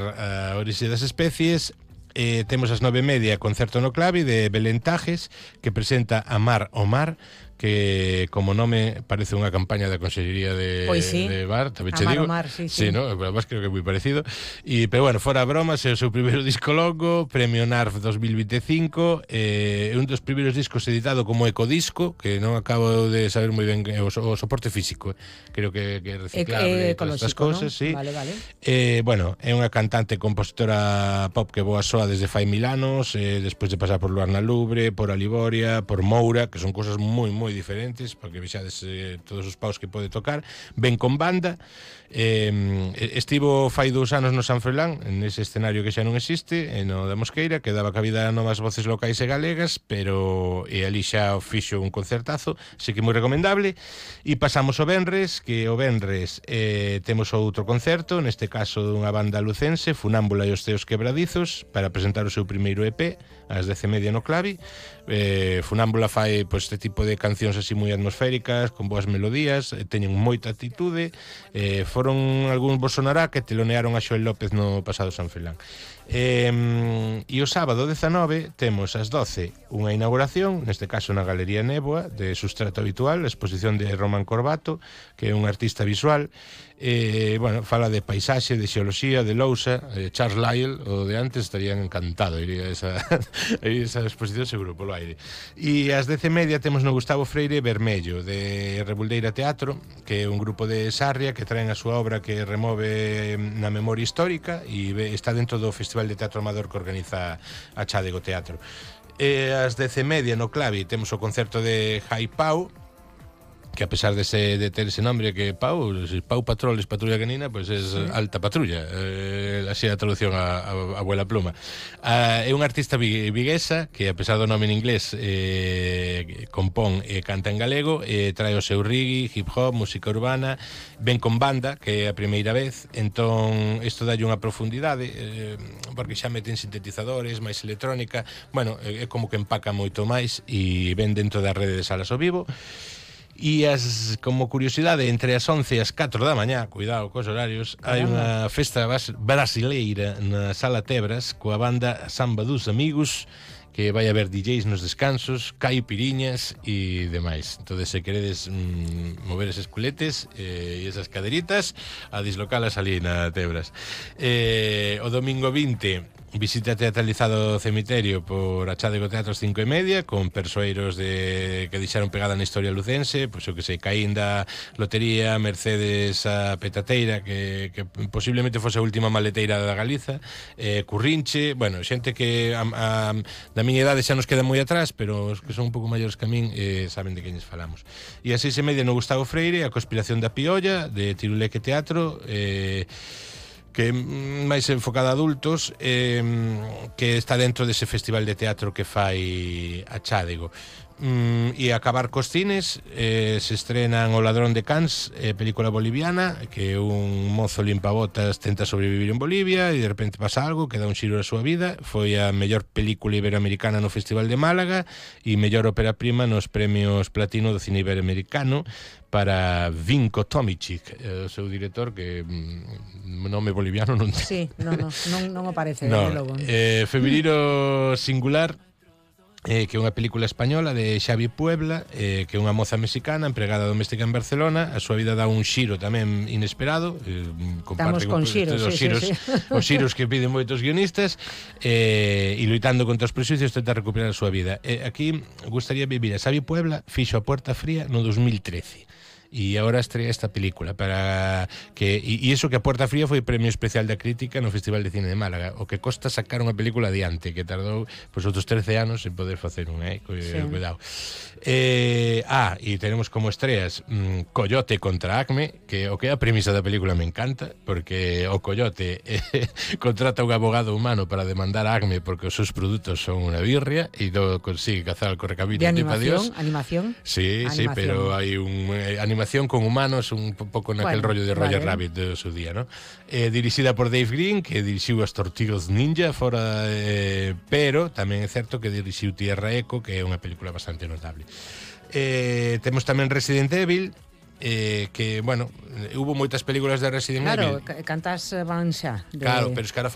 a orixe das especies. Temos as 9:30 concerto no Clavi de Belén Tajes, que presenta Amar o Mar, que como nome parece unha campaña da Consellería de, Pois sí. de Bar, tamén che Amar digo. o Mar, sí, Sí, no? Además creo que é moi parecido. Pero bueno, fora bromas, é o seu primeiro disco longo, Premio NARF 2025, é un dos primeiros discos editado como ecodisco, que non acabo de saber moi ben o soporte físico, creo que é reciclable, todas estas cousas, ¿no? sí. Vale. Bueno, é unha cantante e compositora pop que boa soa desde fai 1000 anos, despois de pasar por Luarna Lubre, por Aliboria, por Moura, que son cousas moi diferentes, porque vexades todos os paus que pode tocar. Ven con banda, estivo fai 2 anos no San Froilán, nese escenario que xa non existe, no da Mosqueira, que daba cabida a novas voces locais e galegas, pero ali xa fixo un concertazo, así que moi recomendable. E pasamos o Venres, que o Venres temos outro concerto, neste caso dunha banda lucense, Funámbula e os Ceos Quebradizos, para presentar o seu primeiro EP, ás 10:30 no Clavi. Funámbula fai este tipo de cancións así moi atmosféricas, con boas melodías, teñen moita actitude. Foron algúns, vos sonará, que telonearon a Xoel López no pasado San Froilán. E o sábado 19 temos ás 12 unha inauguración, neste caso na Galería Néboa, de Sustrato Habitual, a exposición de Román Corbato, que é un artista visual. Bueno, fala de paisaxe, de xeoloxía, de lousa. Charles Lyell, o de antes, estarían encantado, iría a esa exposición seguro polo aire. E ás 10:30 temos no Gustavo Freire Vermello, de Rebuldeira Teatro, que é un grupo de Sarria que traen a súa obra que remove na memoria histórica e está dentro do Festival de Teatro Amador que organiza a Chádego Teatro. Ás 10:30 no Clavi temos o concerto de Jai Pau, que a pesar de ter ese nombre que Pau Patroles, Patrulla Canina, pues es alta patrulla, así a traducción a abuela pluma. É un artista viguesa que a pesar do nome en inglés compón e canta en galego, trae o seu reggae, hip hop, música urbana, ven con banda, que é a primeira vez, entón isto dalle unha profundidade, porque xa meten sintetizadores, máis electrónica, bueno, é como que empaca moito máis e ven dentro da rede de salas ao vivo. E como curiosidade, entre as 11 e as 4 da mañá, cuidado cos horarios, hai unha festa brasileira na Sala Tebras coa banda Samba dos Amigos, que vai haber DJs nos descansos, caipiriñas e demais. Entón, se queredes mover eses culetes e esas caderitas, a dislocalas ali na Tebras. O domingo 20 visita teatralizado o cemiterio por a Chádego Teatro 5:30, con persoeiros que deixaron pegada na historia lucense, pois o que sei, Caínda, Lotería, Mercedes a Petateira, que posiblemente fose a última maleteira da Galiza, Currinche, bueno, xente que da miña idade xa nos queda moi atrás, pero os que son un pouco maiores que a min saben de queñes falamos. E a 6:30 no Gustavo Freire, a Conspiración da Piolla, de Tiruleque Teatro, que é máis enfocada a adultos, que está dentro dese festival de teatro que fai a Chádego. E acabar cos cines, se estrenan O Ladrón de Cans, película boliviana, que un mozo limpabotas tenta sobrevivir en Bolivia e de repente pasa algo que dá un xiro a súa vida. Foi a mellor película iberoamericana no Festival de Málaga e mellor ópera prima nos premios Platino do cine iberoamericano para Vinko Tomicic, o seu director, que nome boliviano non ten. Sí, non o parece, no, logo. Febrero Singular, que é unha película española de Xavi Puebla, que é unha moza mexicana empregada doméstica en Barcelona. A súa vida dá un xiro tamén inesperado, comparte con xiros, os xiros que piden moitos guionistas, e loitando contra os prejuicios tenta recuperar a súa vida. Aquí gustaría vivir a Xavi Puebla, fixo A Puerta Fría no 2013 e agora estrella esta película para que e iso que A Puerta Fría foi premio especial da crítica no Festival de Cine de Málaga, o que costa sacar unha película adiante, que tardou outros 13 anos en poder facer unha, cuidado. E tenemos como estreas Coyote contra Acme, que o que é a premisa da película me encanta, porque o Coyote contrata un abogado humano para demandar a Acme porque os seus produtos son unha birria e non consigue cazar al correcamino de animación. Sí, pero hai animación con humanos, un pouco naquel rollo de Roger Rabbit do seu día, ¿no? Dirixida por Dave Green, que dirixiu as Tortugas Ninja fora, pero tamén é certo que dirixiu Tierra Eco, que é unha película bastante notable. Temos tamén Resident Evil, que, bueno, hubo moitas películas de Resident Evil. Claro, cantas van xa. Claro, pero es que ahora